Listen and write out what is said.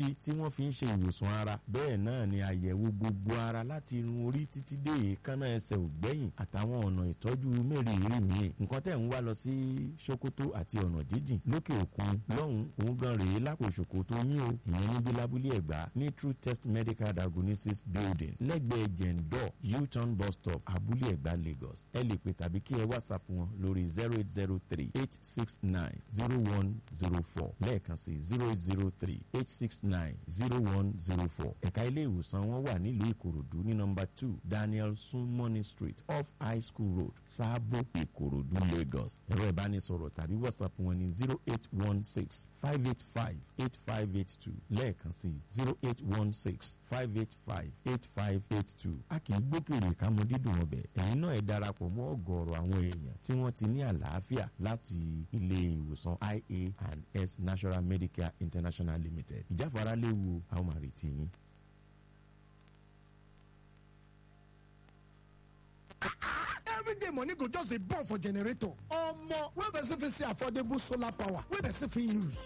Tí wọ́n fi ń ṣe ìwòsàn ara, bẹ́ẹ̀ náà ni àyẹ̀wò gbogbo ara láti irun orí títí dé èékánná ẹsẹ̀ ògbẹ́yìn àtàwọn ọ̀nà ìtọ́jú mẹ́rìírí míì. Nǹkan tẹ̀ ń wá lọ sí Sokoto àti ọ̀nà jíjìn lókè òkun lọ́hùn òun gan rèé lápò Sokoto yín o. Ìyẹn níbi lábúlé Ẹ̀gbá ní True Test Medical Diagnosis Building, lẹ́gbẹ̀ẹ́ Jẹ̀ǹdọ̀ U-turn bus stop, Abúlé Ẹ̀gbá, Lagos. Ẹ lè pè tàbí kí ẹ WhatsApp wọn lórí 08038690104. Lẹ́ẹ̀kan sí, 08038690104. Ẹ̀ka ilé ìwòsàn wọn wà nílùú Ìkòròdú ní nọ́mbà 2, Daniel Sunmoney Street, off High School Road, Sáàbò, Ìkòròdú, Lagos. Ẹ̀rọ ìbánisọ̀rọ̀ tàbí WhatsApp wọn ní 08165858582. Lẹ́ẹ̀kan sí, 08165858582. A kì í gbókèrè ká mọ dídùn ọbẹ̀. Ẹ̀yin náà ẹ darapọ̀ mọ́ ọ̀gọ̀ọ̀rọ̀ àwọn èèyàn tí wọ́n ti ní àlàáfíà láti ilé ìwòsàn IA and S National Medicare International Limited. Ìjáfara léwu, àwọn máa retí yín. Everyday money go just dey burn for generator. Omo, wey person fit see affordable solar power wey person fit use?